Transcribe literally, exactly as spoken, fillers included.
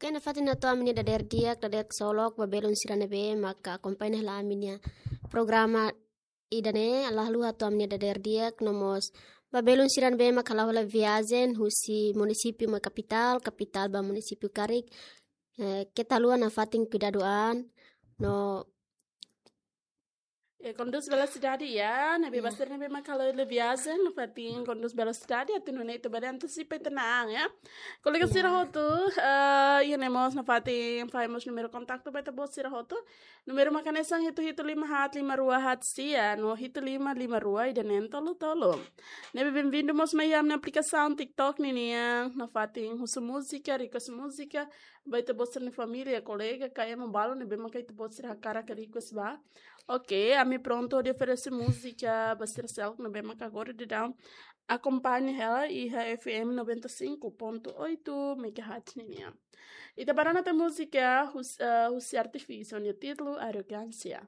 Nafatin hato'o ami-nia dadeer di'ak, dadeer ksolok ba belun sira ne'ebé maka akompaña hela ami-nia programa ida-ne'e. Ha'u hato'o ami-nia dadeer di'ak, no mós ba belun sira ne'ebé maka halo viajen husi munisípiu mai kapitál, kapitál ba munisípiu karik. Eh, keta haluha nafatin kuidadu an, no eh, kondús velosidade, ya, ne'ebé, ya, ba sira ne'ebé maka halo viajen, nafatin kondús velosidade, atu nune'e ita bele antesipa ita-nia an, ya. Kolega, ya, sira hotu, eh, iha ne'e mós nafatin fahe mós númeru kontaktu ba ita-boot sira hotu. Númeru mak hanesan hitu hitu lima haat lima rua haat sia, no hitu lima lima rua ida neen tolu tolu. Ne'ebé benvindu mós mai iha ami-nia aplikasaun TikTok ninian, nafatin husu múzika, request múzika, ba ita-boot sira-nia família, kolega, ka ema balu ne'ebé maka ita-boot sira hakarak request ba. Oke, ami prontu hodi oferese múzika ba sira seluk ne'ebé maka agora daudaun akompaña hela iha F M noventa e cinco ponto oito megahertz ninian. Ita bá rona tiha múzika hus-, eh, husi artista nia títulu Arrogância.